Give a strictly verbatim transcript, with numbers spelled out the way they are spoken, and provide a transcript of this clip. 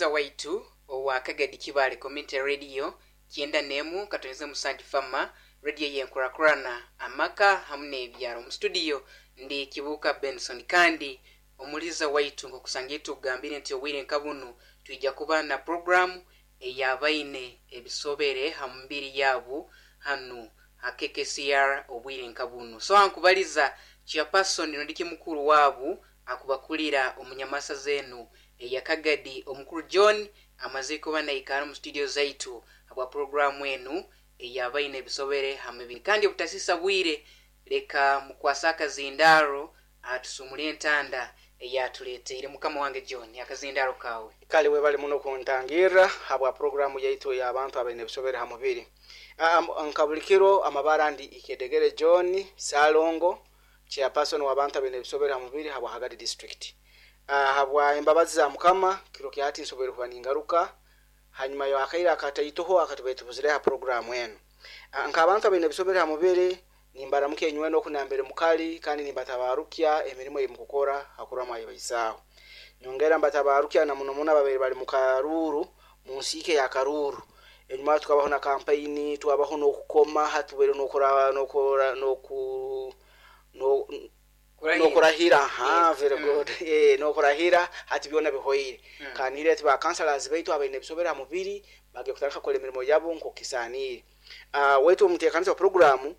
Omuliza waitu owa Kagadi Kibaale Community Radio kyenda n'emu katonyeze musanju fama radio yenkurakurana amaka hamu n'ebyaro. Mu studio ndi Kibuuka Benson, kandi omuliza waitu nkokusanga tugambire nti obwire nka bunu twija kuba na programu eyabaine ebisobere ha mubiri yabu hanu ha K K C R obwire nka bunu. So ankubaliza chairperson nondiki mukuru wabu akubakulira omunyamasa zenu eya Kagadi, omukuru John amaze kuba naikara mu studio zaitu habwa programu enu eyabaine ebisobere ha mibiri. Kandi obutasisa bwire, leka mukwasa akazindaro atusumule entanda eyatuleteire. Mukama wange John, akazindaro kawe. Kale, webale muno kuntangirra habwa programu yaitu y'abantu abaine ebisobere ha mubiri. um, nka buli kiro, amabara ndi Ikedegere John Salongo, chairperson w'abantu abaine ebisobere ha mubiri habwa Kagadi District. uh, habwa embabazi za Mukama, kiro kyati nsobere kuba ningaruka hanyuma yakaire akataitoho akatubaire tubuzire ha programu enu. uh, nk'abantu abaine ebisobere ha mubiri, nimbaramuka enywena okunambere mukali, kandi nimbatabarukya emirimu ei mukukora hakurwa mwayibaisaaho. Nyongera mbatabarukya na muno muno ababaire bali mu karuuru, mu nsiike ya karuuru. Enyuma tukabaho na kampaini, twabaho n'okukoma, hatubaire n'okura n'okura n'oku no n'okurahira. Ha, very good. eh n'okurahira hati byona bihoire. Mm. Kanihire ati ba councillors baitu abaine ebisobere ha mubiri bagiye kutandika kukora emirimo yabo nk'okisaaniire. uh, wetu omuteekaniza wa programu.